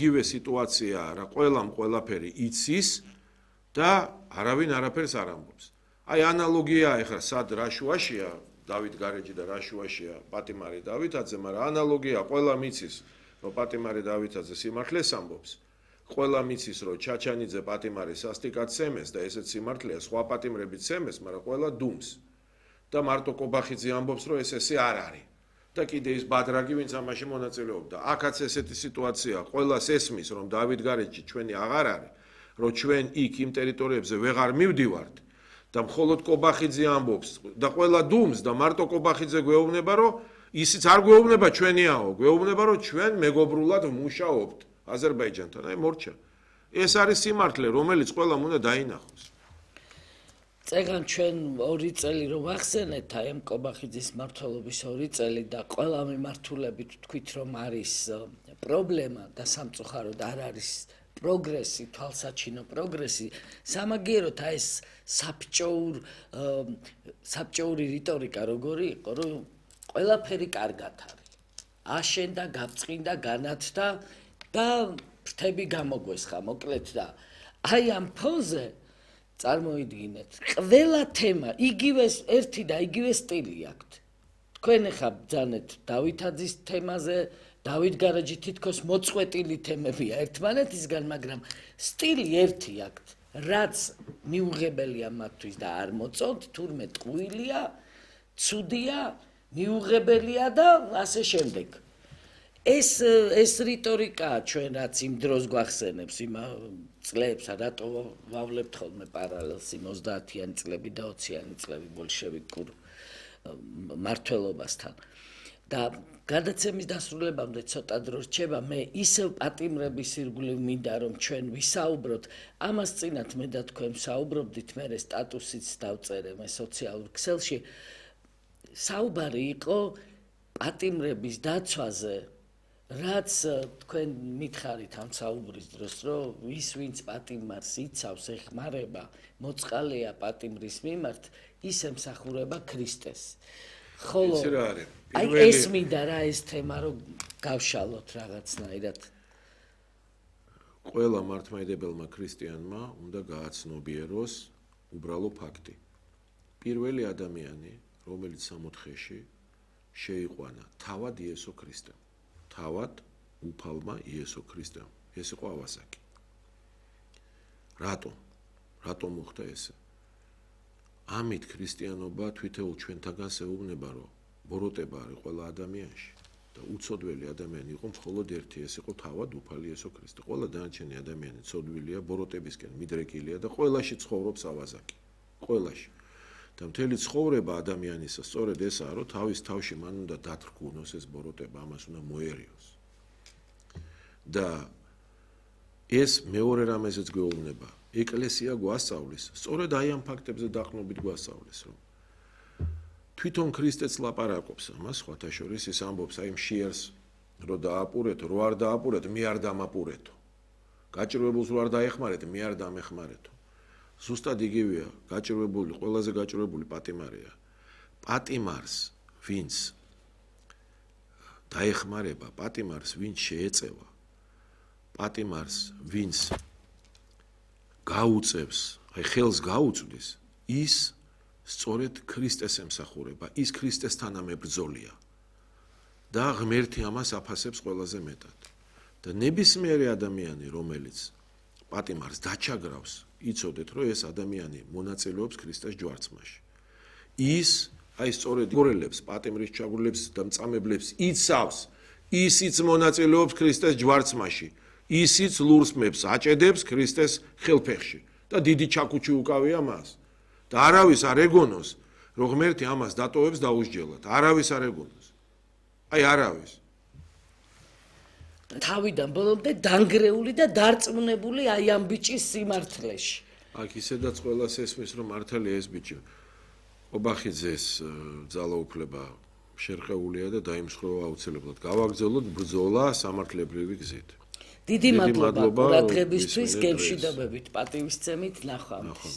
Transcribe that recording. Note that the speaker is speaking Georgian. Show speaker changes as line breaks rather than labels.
იგივე სიტუაციაა რა ყველაფერი იცის და არავინ არაფერს არ ამბობს აი ანალოგია ეხლა სად რა შუაშია დავით გარეჯი და რა შუაშია პატიმარი დავითაძე მაგრამ ანალოგია ყველა მიცის რომ პატიმარი დავითაძე სიმართლეს ამბობს ყველა მიცის რომ ჩაჩანიძე პატიმარი სასტიკად სემეს და ესეც სიმართლეა სხვა პატიმრებიც სემეს მაგრამ ყველა დუმს და მარტო კობახიძე ამბობს რომ ესე არ არის და კიდე ის ბადრაგი ვინც ამაში მონაწილეობდა აქაც ესეთი სიტუაცია ყველას ესმის რომ დავით გარეჯი ჩვენი აღარ არის რომ ჩვენ იქ იმ ტერიტორიებზე ვეღარ მივდივართ და მხოლოდ კობახიძე ამბობს და ყველა დუმს და მარტო კობახიძე გვეუბნება რომ ისიც არ გვეუბნება ჩვენიაო გვეუბნება რომ ჩვენ მეგობრულად ვმუშაობთ აზერბაიჯანთან აი მორჩა ეს არის სიმართლე რომელიც ყველამ უნდა დაინახოს
წეგან ჩვენ 2 წელი რომ ვახსენეთ აი ამ კობახიძის მმართველობის 2 წელი და ყველა მიმართულებით თქვით რომ არის პრობლემა და სამწუხაროდ არ არის პროგრესი, თვალსაჩინო პროგრესი, სამაგიეროდ აი ეს საბჭოური რიტორიკა როგორი იყო, რომ ყველაფერი კარგად არის. აშენდა, გაბწყინდა, განათდა და ფრთები გამოგვესხა, მოკლედ და აი ამ ფონზე წარმოიდგინეთ, ყველა თემა იგივე ერთი და იგივე სტილი აქვთ. თქვენ ახლა ბრძანეთ დავითაძის თემაზე დავით გარეჯი თითქოს მოწყვეტილი თემებია ერთმანეთისგან, მაგრამ სტილი ერთი აქვთ, რაც მიუღებელია მათთვის და არ მოწონთ, თურმე ტყუილია, ცუდია, მიუღებელია და ასე შემდეგ. ეს რიტორიკაა ჩვენ რაც იმ დროს გვახსენებს იმ წლებს, რატო ვავლებთ ხოლმე პარალელს იმ 30-იანი წლები და 20-იანი წლები ბოლშევიკურ მმართველობასთან. და გადაცემის დასრულებამდე ცოტა დრო რჩება, მე ისევ პატიმრების ირგვლივ მინდა რომ ჩვენ ვისაუბროთ, ამას წინათ მე და თქვენ საუბრობდით, მე სტატუსიც დავწერე მე სოციალურ ქსელში. საუბარი იყო პატიმრების დაცვაზე, რაც თქვენ მითხარით ამ საუბრის დროს, რომ ის ვინც პატიმარს იცავს, ეხმარება, მოწყალეა პატიმრის მიმართ, ის ემსახურება ქრისტეს. ხოლო აი ეს მინდა რა ეს თემა რომ გავშალოთ რაღაცნაირად.
ყველა მართლმადიდებელმა ქრისტიანმა უნდა გააცნობიეროს უბრალო ფაქტი. პირველი ადამიანი, რომელიც 64-ში შეიყვანა თავად იესო ქრისტემ. თავად უფალმა იესო ქრისტემ. ეს იყო ავასაკი. რატომ მოხდა ესე? ამით ქრისტიანობა თვითეულ ჩვენთაგან ეუბნება, რომ ბოროტება არის ყველა ადამიანში და უცოდველი ადამიანი იყო მხოლოდ ერთი, ეს იყო თავად უფალი იესო ქრისტე. ყველა დანარჩენი ადამიანი ცოდვილია, ბოროტებისკენ მიდრეკილია და ყველაში ცხოვრობს ავაზაკი. ყველაში. და მთელი ცხოვრება ადამიანისა სწორედ ესაა, რომ თავის თავში მან უნდა დათრგუნოს ეს ბოროტება, ამას უნდა მოერიოს. და ეს მეორე რამეზეც გვეუბნება. ეკლესია გვასწავლის, სწორედ აი ამ ფაქტებზე დაყრდნობით გვასწავლის, რომ თვითონ ქრისტეც ლაპარაკობს ამას, სხვათა შორის ის ამბობს აი მშიერს რო დააპურეთო, რო არ დააპურეთო, მე არ დამაპურეთო. გაჭირვებულს რო არ დაეხმარეთო, მე არ დამეხმარეთო. ზუსტად იგივეა, გაჭირვებული, ყველაზე გაჭირვებული პატიმარია. პატიმარს, ვინც დაეხმარება, პატიმარს, ვინც შეეწევა, პატიმარს, ვინც გაუწევს, აი ხელს გაუწვდის, ის სწორედ ქრისტეს ემსახურება, ის ქრისტესთან ამებრძოლია. და ღმერთი ამას აფასებს ყველაზე მეტად. და ნებისმიერი ადამიანი, რომელიც პატიმარს დაჩაგრავს, იცოდეთ, რომ ეს ადამიანი მონაწილეობს ქრისტეს ჯვარცმაში. ის აი სწორედ გორელებს, პატიმრის ჩაგვრილებს და მწამებლებს იცავს, ისიც მონაწილეობს ქრისტეს ჯვარცმაში. ისიც ლურსმებს აჭედებს ქრისტეს ხელფეხში და დიდი ჩაქუჩი უკავია მას და არავის არ ეგონოს რომ ღმერთი ამას დატოვებს დაუსჯელად არავის არ ეგონოს აი არავის
თავიდან ბოლომდე დანგრეული და დარწმუნებული აი ამ ბიჭის სიმართლეში
აქ ისედაც ყველას ესმის რომ მართალია ეს ბიჭი კობახიძეს ძალაუფლება შერყეულია და დაიმსხვრევა აუცილებლად გავაგრძელოთ ბრძოლა სამართლებრივი გზით
დიდი მადლობა ყურადღებისთვის, გემშვიდობებით, პატივისცემით, ნახვამდის.